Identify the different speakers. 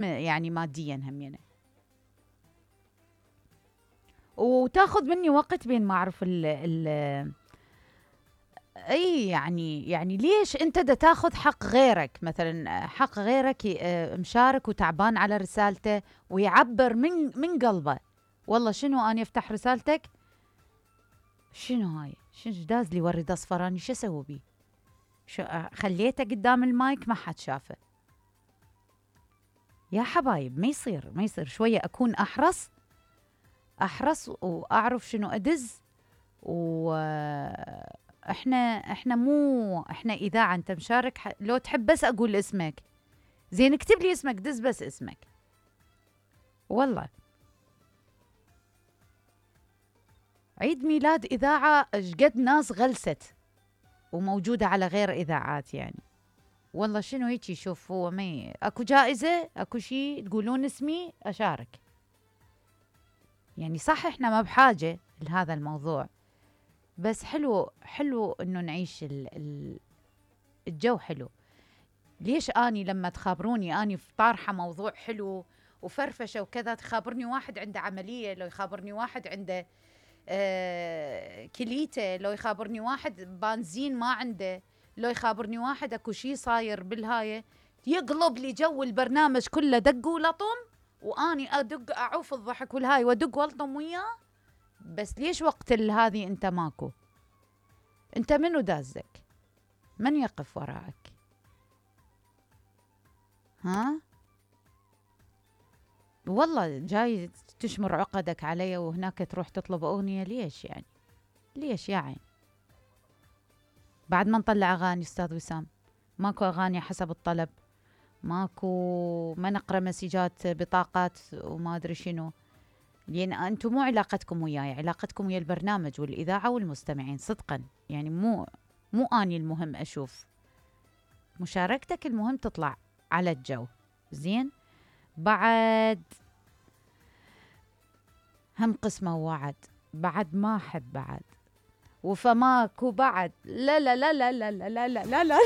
Speaker 1: يعني ماديا هم يعني. وتاخذ مني وقت بين ما اعرف ال اي يعني ليش انت دا تاخذ حق غيرك؟ مثلا حق غيرك مشارك وتعبان على رسالته ويعبر من قلبه. والله شنو اني افتح رسالتك؟ شنو هاي؟ شنو داز لي ورد اصفر؟ اني شو اسوي بيه؟ شو خليته قدام المايك ما حد شافه؟ يا حبايب ما يصير شويه اكون احرص واعرف شنو ادز. احنا مو احنا اذاعه، انت مشارك لو تحب بس اقول اسمك زين اكتب لي اسمك، دز بس اسمك. والله عيد ميلاد اذاعه اشقد ناس غلست وموجوده على غير اذاعات يعني. والله شنو هيك؟ شوف هو ما اكو جائزه اكو شيء تقولون اسمي اشارك يعني. صح احنا ما بحاجه لهذا الموضوع، بس حلو انه نعيش الجو حلو. ليش اني لما تخابروني اني في طارحه موضوع حلو وفرفشه وكذا، تخابرني واحد عنده عمليه، لو يخابرني واحد عنده كليته، لو يخابرني واحد بنزين ما عنده، لو يخابرني واحد اكو شيء صاير بالهايه، يقلب لي جو البرنامج كله دق ولطم، واني ادق اعوف الضحك والهاي وادق والطم وياه. بس ليش وقت هذه انت ماكو؟ انت منو دازك؟ من يقف وراك؟ ها؟ والله جاي تشمر عقدك علي وهناك تروح تطلب أغنية؟ ليش يعني؟ ليش يا عين؟ بعد ما نطلع أغاني أستاذ وسام ماكو أغاني حسب الطلب، ماكو، ما نقرأ مسجات بطاقات وما أدري شنو. لأن أنتم مو علاقتكم وياي، علاقتكم ويا البرنامج والإذاعة والمستمعين صدقا يعني. مو أني المهم أشوف مشاركتك، المهم تطلع على الجو زين. بعد هم قسمة ووعد، بعد ما أحب بعد وفماكو بعد. لا لا لا لا لا لا لا لا لا